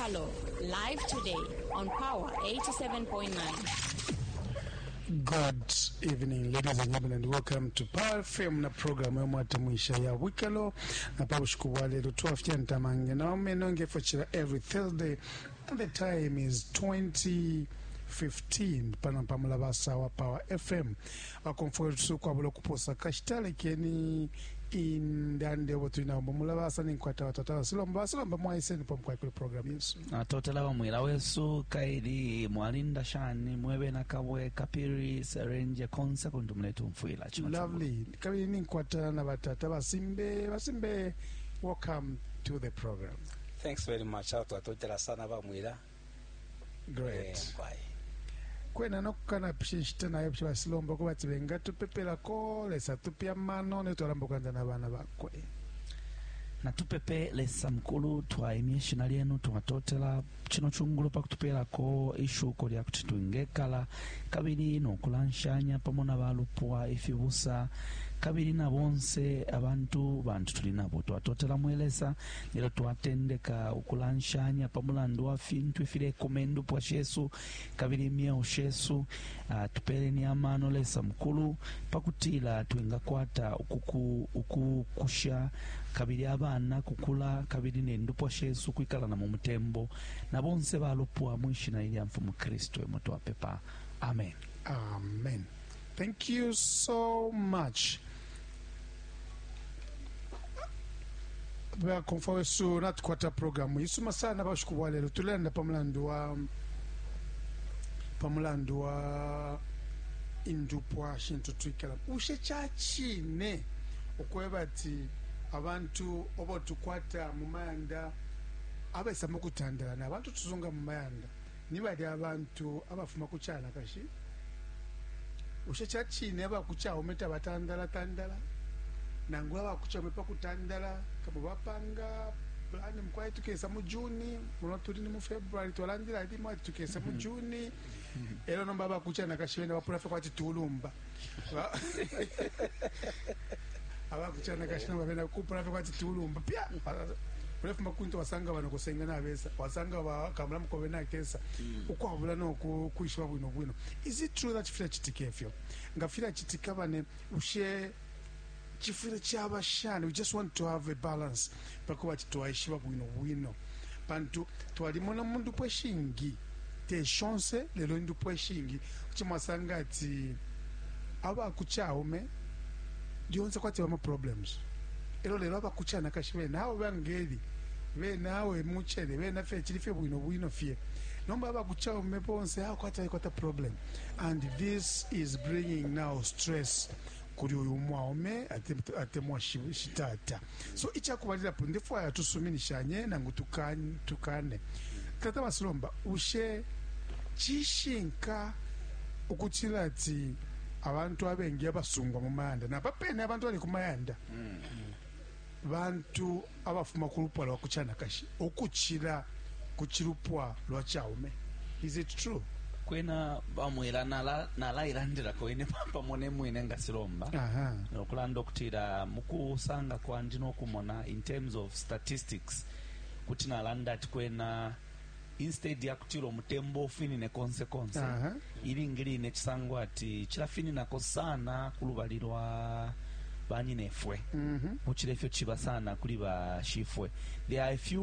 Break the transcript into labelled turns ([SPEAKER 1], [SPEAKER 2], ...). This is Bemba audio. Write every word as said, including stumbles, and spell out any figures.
[SPEAKER 1] Wikalo, live today on Power eighty-seven point nine.
[SPEAKER 2] Good evening, ladies and gentlemen, and welcome to Power F M na program yomwatemwisha ya Wikalo. Na pa bushiku bwa lelo twafya ntamange na omeno ngefo every Thursday, and the time is twenty fifteen pano pamulabasa wa Power F M. Bakomfo kwabula okuposa kashita, lekeni indande obo tulina ombo mulabasa ninkwata batata basilomba basilomba mwaiseni pomkwai kuli program yesu.
[SPEAKER 3] Natotela bamwila wesu kaili mwalinda shani mwebe na Kabwe, Kapiri, Serenje, konse kuntu muletumfwila chino.
[SPEAKER 2] Lovely. Kabili ninkwata na batata basimbe. Basimbe, welcome to the program.
[SPEAKER 4] Thanks very much. Awo twatotela sana bamwila.
[SPEAKER 2] Great.
[SPEAKER 4] Eh, mkwai.
[SPEAKER 2] Kwena nokukana pishinshita nayo basilomba ko bati bengatupepelako Lesa tupya mano netwalamba okulanza n'abaana bakwe.
[SPEAKER 3] Natupepe. Lesa mukulu, twaimya ishina lyenu, twatotela chino chungulo pakutupelako ishuko lya kuti twingekala kabili nokulanshanya pamo na balupwa, ifibusa kabili na bonse abantu bantu tuli nabo. Twatotela mwe Lesa lelo twatendeka ukulanshanya pa mulandu wa fintu ifilekuma indupwa shesu kabili imyeo shesu. uh, tupeleni amano Lesa mukulu pakutila twingakwata ukuku, ukukusha kabili abana kukula kabili nendupwa shesu kwikalana mu mutembo na bonse balupwa mwishina ilya Mfumu Kristu emo twapepa, amen.
[SPEAKER 2] Amen. Thank you so much. Bakomfa wesu, natukwata programu isuma sana bashuku bwa lelo. Tulenda pamulandu wa pamulandu wa indupwa shintu twikala. Ushe chachine okweba ati abantu obo tukwata mu mayanda abesa mukutandala na abantu tuzunga mu mayanda ni bali abantu abafuma ku chana kashi. Ushe chachine abakuchaume tabatandala tandala nangula abakuchaume pakutandala kabo bapanga plani mkwai tukesa mu Juni muno tuli ni mu February, twalandila limo ati tukesa mu Juni elo nomba abakuchana kashibene bapula fe kwati tulumba. Ba- abakuchana kashina babena kupula fe kwati tulumba pya ulefuma kuntu wasanga bano kusenga nabesa wasanga bakamula mukobe nakesa ukwabula noku kwishiba bwino bwino. Is it true that filachitika efyo? Nga filachitika bane, ushe chifwile chaba shani? We just want to have a balance pakuba ati twaishiba bwino bwino pantu twalimona mu ndupwa eshingi, te shonse lelo indupwa eshingi kuti mwasanga ati abakuchaume lyonse kwati bama problems elo lelo abakuchana kashi bene abo bangeli bene awe muchere bene fe chili fye bwino bwino fye nomba abakuchaume bonse awo kwati balikwata problem, and this is bringing now stress kuli uyu mwaume ate- atemwa shi- shitata. So ichakubalilapo ndifwaya tusuminishanye nangu tukane, tukane. Tata basilomba, ushe chishinka ukuchila ati abantu abengi abasungwa mu mayanda napapene abantu bali ku mayanda bantu abafuma ku lupwa lwa kuchanakashi ukuchila ku chilupwa lwa chaume? Is it true?
[SPEAKER 3] Kwena bamwila nala nalailandirako ine pamo ne mwine nga silomba
[SPEAKER 2] aha
[SPEAKER 3] nokulanda okutira mukusanga kwandi nokumona in terms of statistics kuti nalanda ati kwena instead yakutira omutembo ofinine konse konse,
[SPEAKER 2] Aha.
[SPEAKER 3] ilingi line chisangwa ati chilafininako sana kulubali lwa banyinefwe
[SPEAKER 2] Mhm.
[SPEAKER 3] kuchila ifyo chiba sana kuli bashifwe. There are a few